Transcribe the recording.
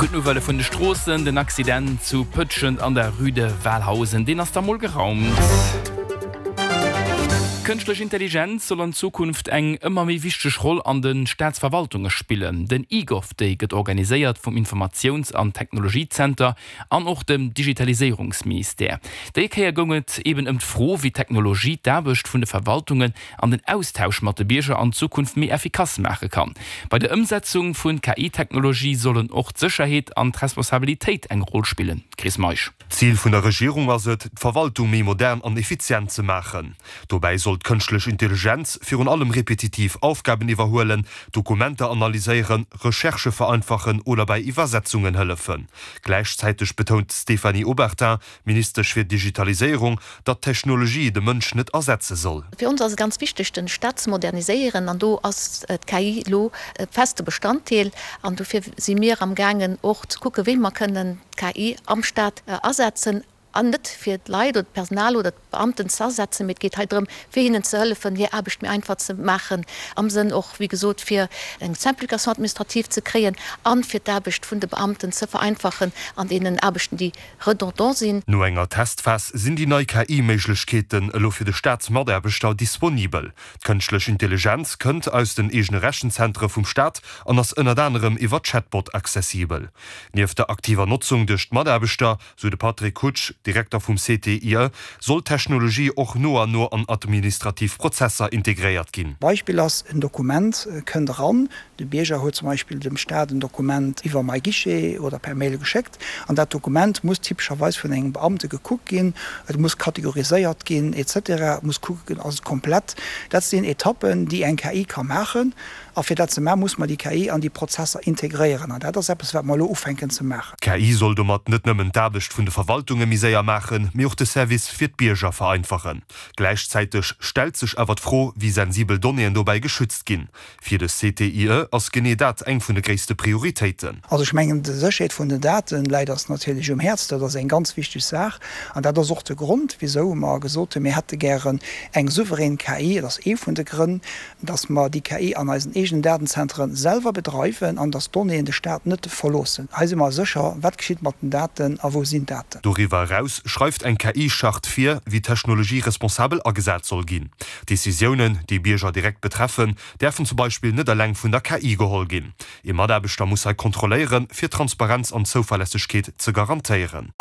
Gutt Nouvellë vun de Stroossen, Den Accident zu Pëtschent an der Rue de Walhausen, deen ass da mol geraumt. Kënschtlech Intelligenz soll an Zukunft eng ëmmer méi wichteg Roll an de Staatsverwaltunge spillen. Den eGov Day gëtt organiséiert vum Informatiouns an Technologiezenter an och dem Digitaliséierungsministère. Déi Kéier goung et eben ëm d'Fro, wéi d'Technologie d'Aarbecht vun de Verwaltungen an den Austausch mat de Bierger an Zukunft méi effikass maache kann. Bei der Ëmsetzung vu KI-Technologie sollen och d'Sécherheet an d'Responsabilitéit eng Roll spillen. Chris Meisch. D'Zil vun der Regierung ass et, d'Verwaltung méi modern an effizient ze maachen. Dobäi soll d'Kënschtlech Intelligenz virun allem repetitiv Aufgaben iwwerhuelen, Dokumenter analyséieren, Recherchë vereinfachen oder bei Iwwersetzungen hëllefen. Gläichzäiteg betount d'Stéphanie Obertin, Ministesch fir Digitaliséierung, datt d'Technologie de Mënsch net ersetze soll. Fir ons ass et ganz wichteg, den Staat ze moderniséieren an do ass d'KI elo e feste Bestanddeel. An dofir si mir am gaangen och ze kucken, wéi mer kënnen d'KI am Staat asetzen an net fir d'Leit oder d'Personal oder d'Beamten ze ersetzen, mee et geet hei drëm, fir hinnen ze hëllefen, hir Aarbecht méi einfach ze maachen, am Sënn och, wéi gesot, fir eng Simplification administrative ze kréien a fir d'Aarbecht vun de Beamten ze vereinfachen an deenen Aarbechten, déi redondant sinn. No enger Testphas sinn déi nei KI-Méiglechkeeten elo fir de Staatsmataarbechter disponibel. D'Kënschtlech Intelligenz kënnt aus den eegene Rechenzentere vum Staat an ass ënnert anerem iwwer Chatbot accessibel. Nieft der aktiver Notzung duerch d'Mataarbechter, sou de Patrick Hutsch, Direkter vum CTIE, soll d'Technologie och no an no an administrativ Prozesser integréiert ginn. Beispill ass, en Dokument kënnt eran, De Bierger huet zum Beispill dem Staat en Dokument iwwer MyGuichet oder per Mail geschéckt an dat Dokument muss typescherweis vun engem Beamte gekuckt ginn, et muss kategoriséiert ginn, et cetera, et muss kucke ginn, ass et komplett. Dat sinn Etappen, déi eng KI ka maachen. A fir dat ze maachen, muss mer déi KI an déi Prozesser integréieren. An dat ass eppes, wat mer elo ufänken ze maachen. D'KI soll domat net nëmmen d'Aarbecht vun de Verwaltunge méi séier maachen, mee och de Service fir d'Bierger vereinfachen. Gläichzäiteg stellt sech awer d'Fro, wéi sensibel Donnéeën dobäi geschützt ginn. Fir de CTIE ass genee dat eng vun de gréisste Prioritéiten. Also ech mengen, d'Sécherheet vun den Date läit eis natierlech um Häerz. Dat ass eng ganz wichteg Saach. An dat ass och de Grond, wisou mer gesot hunn, mir hätte gären eng souverän KI. Et ass ee vun de Grënn, dass mer déi KI an eisen eegenen Datenzentere selwer bedreiwen an dass d'Donnéeën de Staat net verloossen. Hei si mer sécher, wat geschitt mat den Daten a wou sinn d'Daten. Doriwwer eraus schreift eng KI-Charte vir, wéi d'Technologie responsabel agesat soll ginn. Decisiounen, déi Bierger direkt betreffen, däerfen zum Beispill net eleng vun der KI geholl ginn. Ee Mataarbechter muss hei kontrolléieren, fir Transparenz an Zouverlässegkeet ze garantéieren.